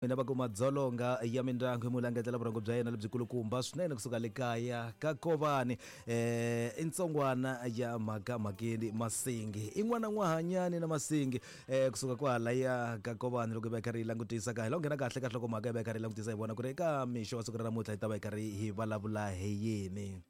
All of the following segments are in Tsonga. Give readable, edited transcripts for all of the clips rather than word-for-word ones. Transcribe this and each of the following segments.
Mina va ku madzolonga ya mindyangu hi mulangetela vurhongo bya yena lebyikulukumba swinene kusuka le kaya ka Kovani i ntsongwana ya mhaka mhakeni Masingi i n'wana n'wahanyani na Masingi kusuka kwalaya ka Kovani loko hi va hi karhi hi langutisa ka hi lo nghena kahle ka nhlokomhaka hi va hi karhi hi langutisa hi vona ku ri eka mixo wa siku ra namuntlha hi ta va hi karhi hi vulavula hi yini.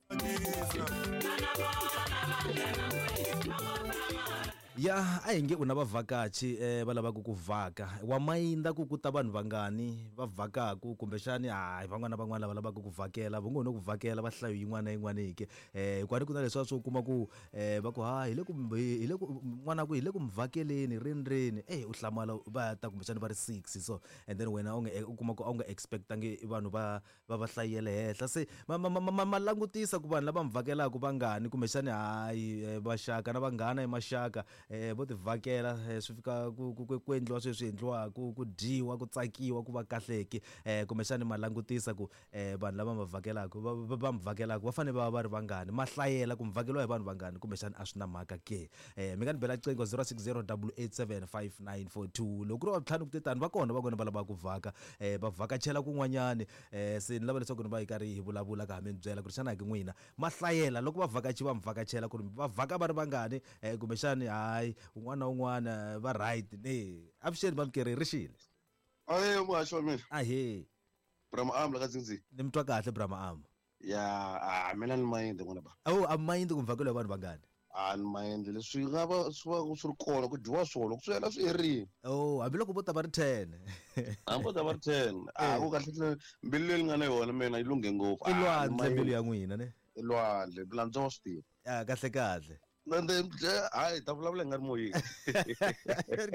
Ya a hi nge u na vavhakachi eh, va lavaka ku vhaka wa mayinda ku ku ta vanhu vangani va vhakaku kumbexani hayi van'wana na van'wana lava lavaka ku vhakela va ngo no ku vhakela va hlayo yin'wana na yin'wana ke eh hikuva ni ku na leswiya swo kuma ku eh va ku ha hi le ku hi le ku n'wana ku hi le ku mi vhakeleni rini rini eh u hlamala va ta kumbexani va ri 6 so and then wena u nga u kuma ku a wu nga expectangi vanhu va va va hlayele henhla se ma ma ma ma ma langutisa ku vanhu lava mi vhakelaka vangani kumbexani hayi eh, vaxaka na vanghana i maxaka eh, vo ti vhakela eh, swi fika ku ku ku ku endliwa sweswi endliwaka ku dyiwa ku tsakiwa ku va kahleki eh, kumbexani ma langutisa ku eh, vanhu lava ma vhakelaka va va va mi vhakelaka va fanele va va va ri vangani ma hlayela ku mi vhakeliwa hi vanhu vangani kumbexani a swi na mhaka ke eh, mi nga ni bela qingho 060 887 5942 loko ku ri wa ntlhanu ku te tani va kona va kona va lavaka ku vhaka eh, va vhakachela kun'wanyani eh, se ni lava leswaku ni va hi karhi hi vulavula ka ha mi byela ku ri xana ki n'wina ma hlayela loko vavhakachi va mi vhakachela ku ri va vhaka va ri vangani eh, kumbexani hayi un'wana na un'wana va right ne avuxeni vamukeri ri xile Ahe muhaxi wa mina. Ahee. Brahma Am la ka Dzindzini. Ni mi twa kahle Brahma Am. Ya, a mina ni mayindi n'wina ba. Awu a mayindi ku mvhakelo ya vanhu vangani? A ni mayindi leswi nga va swi va swi ri kona ku dyiwa swona loko swi hela swi herile. Oh, hambiloko vo ta va ri 10. Hambi vo ta va ri 10. A ku kahle kahle mbilu leyi ni nga na yona mina yi lunghe ngopfu. I lwandle mbilu ya n'wina ne? I lwandle, landzwa wa swi tiva. Ya kahle kahle. Hayi ta vulavula hi nga ri moyeni.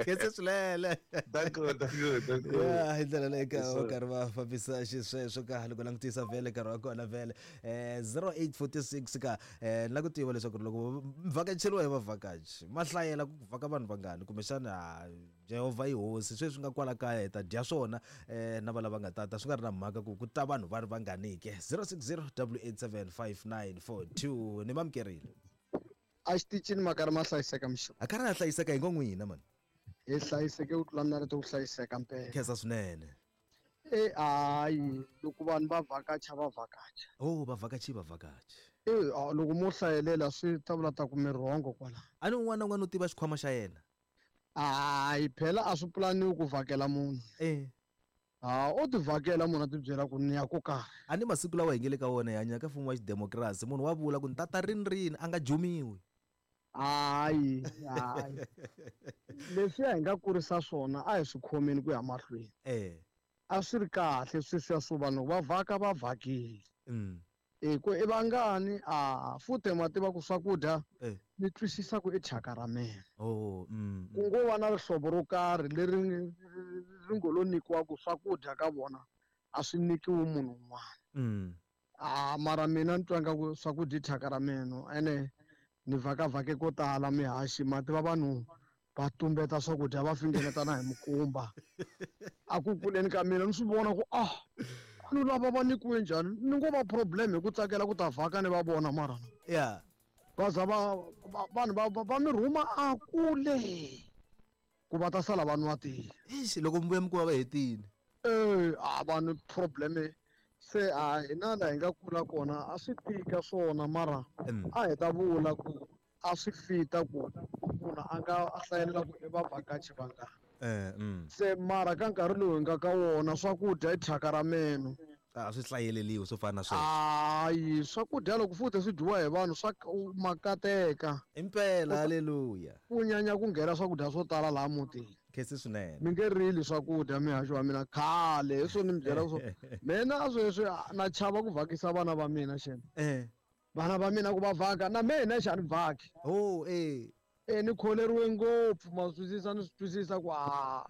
Khense swinene. Danko, danko, danko. Ya hi ndlela leyi ka va karhi va fambisa xisweswo ka loko langutisa vhele nkarhi wa kona vhele 0846 ka ni la ku tiva leswaku loko vhakacheriwa hi vavhakachi ma hlayela ku vhaka vanhu vangani kumbexana Jehovha i hosi sweswi nga kwala kaya hi ta dya swona na va lava nga tata swi nga ri na mhaka ku ku ta vanhu va ri vangani ke 060 887 5942 ni mamukerile. A xitichini ma karhi ma hlayiseka mixo. A karhi a hlayiseka hi ngo n'wina mani. Hi hlayiseke ku tlula narito ku hlayiseka mpela. Khensa swinene. E hayi loko vanhu va vhakacha va vhakacha. Oh va vhakachi va vhakachi. E loko mo hlayelela swi ta vula ta ku mi rhongo kwala. A ni un'wana na un'wana u tiva xikhwama xa yena. Hayi phela a swi pulaniwi ku vhakela munhu. E. Ha o ti vhakela munhu a ti byela ku ni ya ko karhi. A ni masiku lawa hi nge le ka wona hi hanya ka mfumo wa xidemokirasi munhu wa vula ku ni tata rini rini a nga jumiwi. Hayi hayi leswiya hi nga kurisa swona a hi swi khomeni ku ya mahlweni. E. A swi ri kahle sweswiya swo vanhu loko va vhaka va vhakile. E ku i vangani a futhe ma tiva ku swakudya Eh. ni twisisa ku i thyaka ra mina. Oh, mm, Ku ngo va na rihlovo ro karhi leri ri ngo lo nyikiwa ku swakudya ka vona a swi nyikiwi munhu un'wana. A mara mina ni twa nga ku swakudya i thyaka ra mina ene ni vhakavhake ko tala mihaxi ma tiva vanhu va tumbeta swakudya va fingeneta na hi mikumba a ku kuleni ka mina ni swi vona ku ah vanhu lava va nyikiwe njhani ni ngo va problem hi ku tsakela ku ta vhaka ni va vona mara ya va za va vanhu va va mi rhuma a kule ku va ta sala va nwa tiya Eish, loko mi vuya mi kuma va hetile e a vanhu problem se a hina la hi nga kula kona a swi tika swona mara a hi ta vula ku a swi fita ku munhu a nga a hlayelela ku i vavhakachi vangani eh, mm. se mara ka nkarhi lowu hi nga ka wona swakudya i thyaka ra meno a swi hlayeleliwi swo fana na sweswo hayi swakudya loko futhi swi dyiwa hi vanhu swa makateka impela haleluya ku nyanya ku nghena swakudya swo tala laha mutini khensi swinene mi nge rili swakudya mihaxo wa mina khale hi swo ni mi byela swo mina sweswi na chava ku vhakisa vana va mina xena eh vana va mina ku va vhaka na mina xa ni vhaki oh eh e ni kholeriwe ngopfu ma swi twisisa ni swi twisisa ku a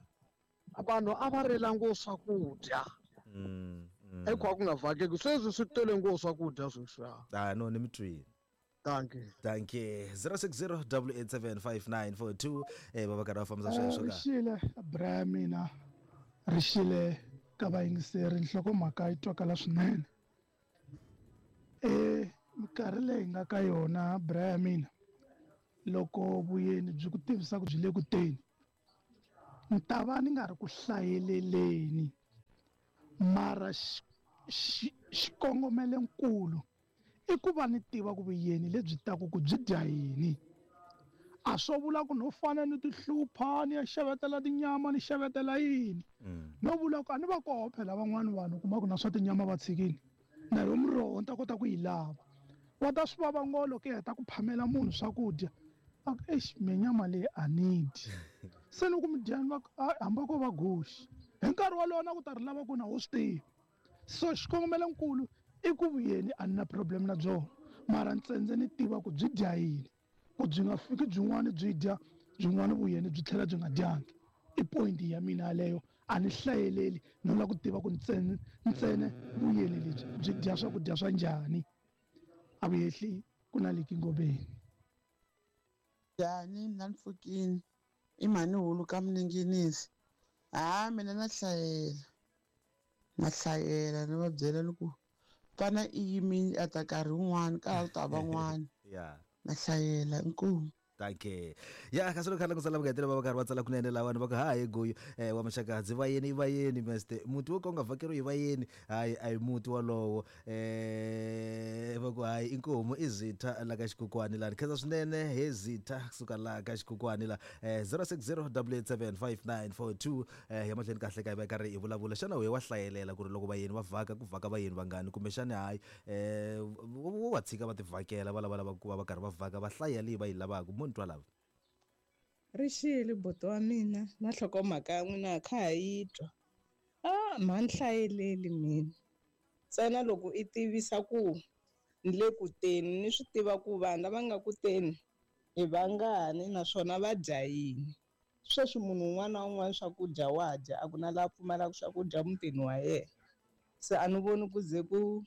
vanhu a va rila ngo swakudya mm, mm. eku ku nga vhakeki sweswi swi tele ngo swakudya sweswi ah no ni mi twile Thank you. Thank you. 060 887 eh va va karhi va fambisa sweswo ka. Rixile bra mina rixile ka vayingiseri nhlokomhaka yi twakala swinene. E minkarhi leyi hi nga ka yona bra ya mina loko vuyeni byi ku tivisa ku byi le ku teni ni ta va ni nga ri ku hlayeleleni. Mara xikongomelonkulu i ku va ni tiva ku vuyeni lebyi taku ku byi dya yini. A swo vula ku no fana ni tihlupha ni ya xavetela tinyama ni xavetela yini. No vula ku a ni va koho phela van'wani vanhu kuma ku na swa tinyama va tshikini na yo muroho ni ta kota ku yi lava. Wa ta swi vava ngo loko i heta ku phamela munhu swakudya a ku exi me nyama leyi a ni dyi. Se loko mi dyani va ku hamba ko va goxi hi nkarhi wolowo na ku ta ri lava ku na wo swi tivi. So xikongomelonkulu i ku vuyeni a ni na problem na byona mara ntsendze ni tiva ku byi dya yini ku byi nga fiki byin'wana byi dya byin'wana vuyeni byi tlhela byi nga dyangi. I point ya mina yaleyo a ni hlayeleli no lava ku tiva ku ntsene vuyeni lebyi byi dya swakudya swa njhani. A vuyehli ku na leki ngobeni. Njhani mina ni pfukini i mhani hulu ka Mninginisi. Ha mina na hlayela ni va byela loko fana i yimile a ta nkarhi wun'wani ka ha ta van'wana. Na hlayela inkomu. Danke. Ya kasi loko khala kusala vangetela va karhi va tsala kunene lawani va ku ha hi goyo wa maxakadzi vayeni vayeni meste muti wo ka u nga vhakeriwi hi vayeni hayi a hi muti wolowo va ku hayi inkomu i zitha la ka xikokwani lani khensa swinene he zitha kusuka la ka xikokwani la 0608875942 ya mahlweni kahle ka hi va karhi hi vulavula xana wehe wa hlayelela ku ri loko vayeni va vhaka ku vhaka vayeni vangani kumbexani hayi wo va tshika va tivhakela va lava lava ku va va karhi va vhaka va hlaya leyi va yi lavaka mo ni twa lava. Rixile buti wa mina na nhlokomhaka ya n'wina kha ha yi twa. Ma ni hlayeleli mina ntsena loko i tivisa ku ni le ku teni ni swi tiva ku vanhu lava nga ku teni hi vangani naswona va dya yini. Sweswi munhu un'wana na un'wana swakudya wa dya a ku na laha pfumalaka swakudya mutini wa yena. Se a ni voni ku ze ku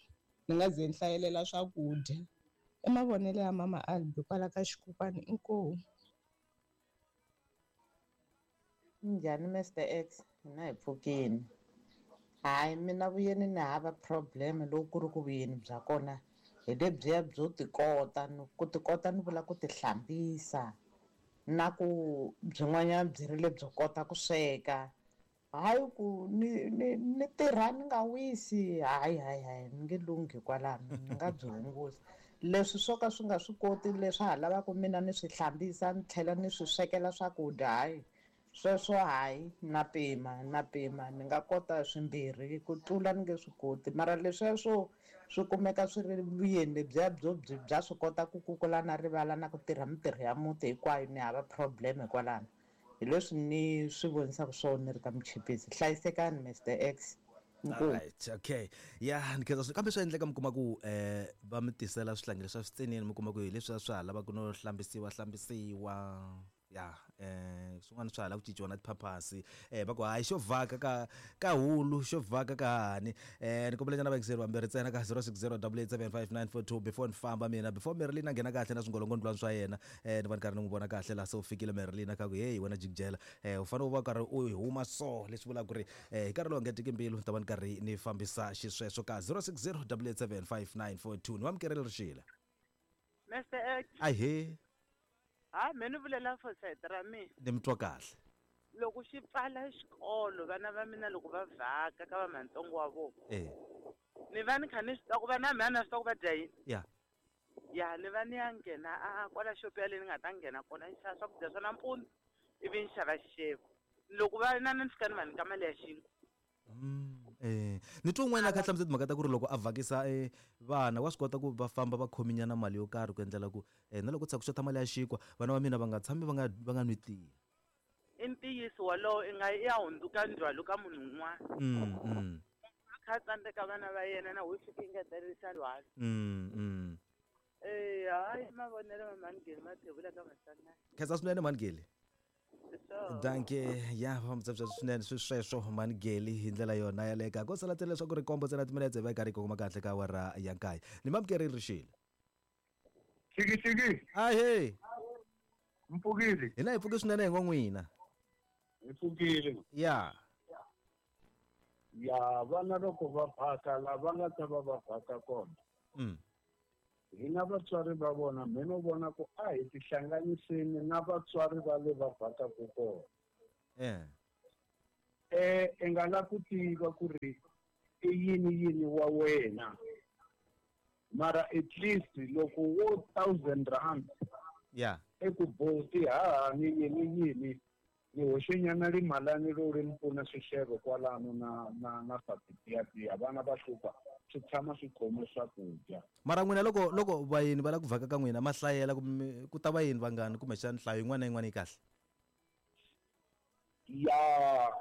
ni nga ze ni hlayelela swakudya. I mavonelo ya mama Albi kwala ka xikokwani inkomu. Njhani Mr X hina hi pfukini. Hayi mina vuyeni ni hava problem loko ku ri ku vuyeni bya kona hi lebyiya byo tikota ku tikota ni vula ku tihlambisa na ku byin'wanyana byi ri lebyo kota ku sweka. Hayi ku ni tirha ni nga wisi hayi hayi hayi ni nge lunghi kwalano ni nga byi hungusa. Leswi swo ka swi nga swi koti leswi ha lavaka mina ni swi hlambisa ni tlhela ni swi swekela swakudya hayi sweswo hayi na pima ni nga kota swimbirhi ku tlula ni nge swi koti. Mara leswiya swo swi kumeka swi ri vuyeni lebyiya byo bya swi kota ku kukula na rivala na ku tirha mintirho ya muti hinkwayo ni hava problem hikwalano. Hi leswi ni swi vonisaka swona ni ri ka Muchipisi. Hlayisekani Mr X. Alright, okay. Ya ni khensa kambe swa endleka mi kuma ku va mi tisela swihlangi leswi swi tsinini mi kuma ku hi leswi swa ha lavaka ku no hlambisiwa ya swin'wana swa ha lava ku cinciwa na tiphaphasi va ku hayi xo vhaka ka hulu xo vhaka ka hani ni kombela nyana vayingiseri vambirhi ntsena ka 0608875942 before ni famba mina before Merlin a nghena kahle na swingolongondlwana swa yena ni va ni karhi ni n'wi vona kahle laha se u fikile Merlin ka ku hey wena jikijela u fanele u va karhi u huma so leswi vulaka ku ri hi nkarhi lowu nga tiki mbilu ni ta va ni karhi ni fambisa xisweswo ka 0608875942 ni vamukerile Rixile. Mr X. Ahee. Ha me ni vulela for side ra mina. Ni mi twa kahle. Loko xi pfala xikolo vana va mina loko va vhaka ka va mantsongo wa vona. Ni va ni kha ni swi tiva ku va na mina na swi tiva ku va dya yini. Ya ni va ni ya nghena a kwala xopo yaleyi ni nga ta nghena kona ni xava swakudya swa nampundzu ivi ni xava xixevo. Loko va na ni fika ni va nyika mali ya xinkwa. Ni twa un'wana a kha hlamusela timhaka ta ku ri loko a vhakisa vana wa swi kota ku va famba va khominyana mali yo karhi ku endlela ku na loko tshika ku xota mali ya xinkwa vana va mina va nga tshami va nga nwi tiya. I ntiyiso wolowo i nga ya hundzuka ndzhwalo ka munhu un'wana. A kha tsandzeka vana va yena na ho fika engeterisa ndzhwalo. Hayi mavonelo ma Mhani Mathebula ka Maswanganyi. Khensa swinene Mhani. Danke ya fambisa swinene sweswo Mhani Geli hi ndlela yona yaleka ko sala tsela leswaku ri kombo ntsena timinetse va karhi kongoma kahle ka awara ya nkaye ni mamukeri Rixile. Xiki. Ahee. Mpfukile. Hina hi pfuke swinene hi ngo n'wina. Hi pfukile. Ya. Ya vana loko va phaka la va nga ta va va phaka kona. Hina vatswari va vona me no vona ku a hi tihlanganiseni na vatswari va le va vhakaku kona. I nga la ku tiva ku ri I yini yini wa wena mara at least loko wo 1000 rand ya eku boti hahani yini yini ni hoxenyana rimalani ro ri ni pfuna swixevo kwalano na swa titiyapiya vana va hlupha swi tshama swi khome swakudya. Mara n'wina loko vayeni va lava ku vhaka ka n'wina ma hlayela ku ta vayeni vangani kumbexana nhlayo yin'wana na yin'wana yi kahle? Ya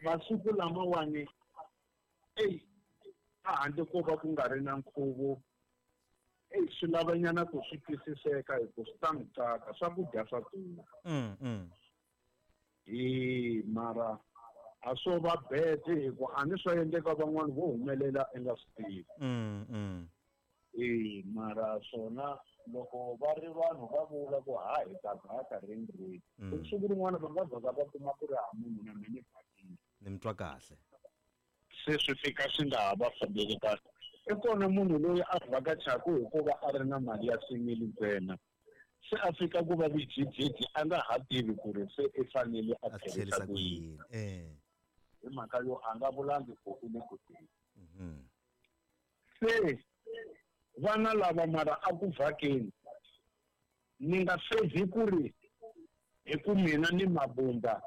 masiku lamawani eyi a handle ko va ku nga ri na nkhuvo eyi swi lavanyana ku swi twisiseka hi ku swi ta mi tsaka swakudya swa durha. Hi mara a swo va bete hi ku a ni swa endleka van'wani vo humelela i nga swi tivi. E mara swona loko va ri vanhu va vula ku ha hi ta vhaka rini rini siku rin'wana va nga vhaka va kuma ku ri ha munhu na mina ni vhakile. Ni mi twa kahle. Se swi fika swi nga ha va fambeli kahle. I kona munhu loyi a vhakachaku hikuva a ri na mali ya simili ntsena se a fika ku va vijijiji a nga ha tivi ku ri se i fanele a tlherisa ku yini. Hi mhaka yo a nga vulangi ku i le ku teni. Se vana lava mara a ku vhakeni ni nga fevhi ku ri hi ku mina ni mabunda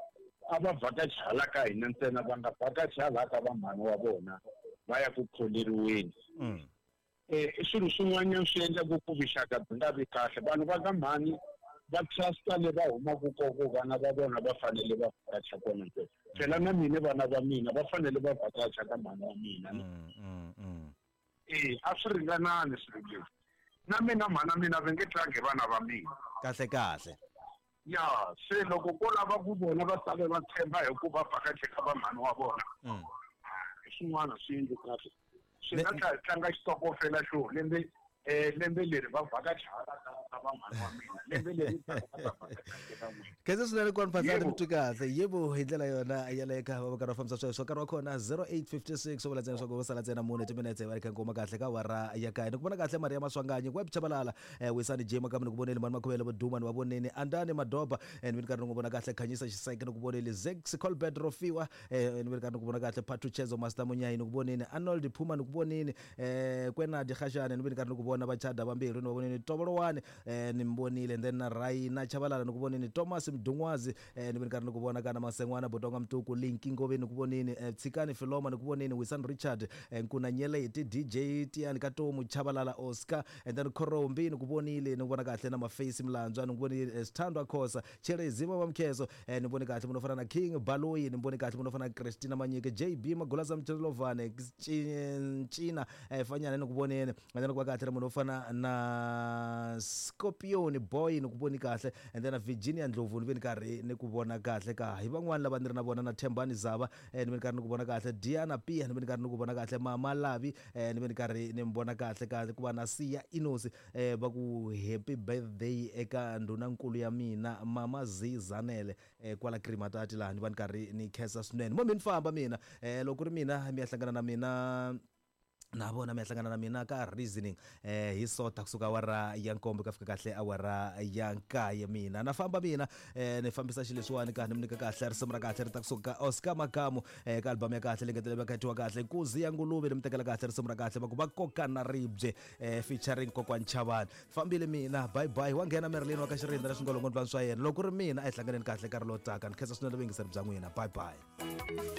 a va vhakachi hala ka hina ntsena va nga vhakachi hala ka va mhani wa vona va ya ku kholeriweni. I swilo swin'wanyana swi endlaku ku vuxaka byi nga vi kahle. Vanhu va ka mhani va trusta le va humaka koko vana va vona va fanele va vhakacha kona ntsena. Phela na mina vana va mina va fanele va vhakacha ka mhani wa mina. A swi ringanani swilo leswi. Na mina mhana mina va nge tlangi vana va mina. Kahle kahle. Ya se loko ko lava ku vona va tale va tshemba hi ku va vhakache ka va mhani wa vona. Swin'wana swi endli kahle. Swi nga tlanga xitokofela xo lembe lembe leri va vhakacha hala ka va mhani wa mina lembe leri va vhakacha ka n'wina. Khensa swinene kwani Phahlane mi twi kahle. Yebo hi ndlela yona yaleyo ka va karhi va fambisa sweswo. Nkarhi wa kona 08:56 vula ntsena leswaku vo sala ntsena mune timinetse va ri kha nkuma kahle ka awara ya kaye. Ni ku vona kahle Maria Maswanganyi Web Chabalala Wisani J Makamu ni ku voneli Mani Makhuvele Vo Duma ni va voneni Andani Madoba ni vi ni karhi ni n'wi vona kahle Khanyisa Xiseke ni ku voneli Zex Colbert Rofiwa ni vi ni karhi ni ku vona kahle Phathu Chezo Master Munyayi ni ku voneni Arnold Phuma ni ku voneni Kwenadi Khashane ni vi ni karhi ni ku vona Vachada vambirhi ni va voneni Tobolowani ni mi vonile and then na Raina Chabalala ni ku voneni Thomas Mdungwazi ni vi ni karhi ni ku vona kana Masengwana Botonga Mtuku Linki Ngove ni ku voneni Tshikani Filoma ni ku voneni Wisan Richard Nkuna Nyeleti DJ Tiani Katomu Chabalala Oscar and then Khorombi ni ku vonile ni ku vona kahle na Mafesi Mlandzwa ni ku vonile Sithandwa Khosa Cherezi Mama Mkheso ni vone kahle munhu wo fana na King Baloyi ni vone kahle munhu wo fana na Christina Manyike JB Magulaza Mchelovane Ncina Fanyana ni ku voneni and then ku va kahle munhu wo fana na Scorpion Boy ni ku voni kahle and then na Virginia Ndlovu ni ve ni karhi ni ku vona kahle ka hi van'wani lava ni ri na vona na Thembani Zava ni ve ni karhi ni ku vona kahle Diana Pia ni ve ni karhi ni ku vona kahle Mama Lavi ni ve ni karhi ni mi vona kahle ka ku va na Siya Inosi va ku happy birthday eka ndhunankulu ya mina Mama Z Zanele kwala Krimatati laha ni va ni karhi ni khensa swinene mo mi ni famba mina loko ku ri mina mi ya hlangana na mina na vona mi ya hlangana na mina ka reasoning hi sota kusuka awara ya nkombo ka fika kahle awara ya nkaye mina na famba mina ni fambisa xileswiwani ka ni mi nyika kahle risimu ra kahle ri ta kusuka ka Oscar Makamu ka album ya kahle leyi nga ta va kahle Nkuzi ya Nguluve ni mi tekela kahle risimu ra kahle va ku va koka na ribye featuring Kokwani Chavani fambile mina bye bye wa nghena Merlin wa ka Xirinda na swingolongondzwana swa yena loko ku ri mina a hi hlanganeni kahle nkarhi lowu taka ni khensa swinene vuyingiseri bya n'wina bye bye.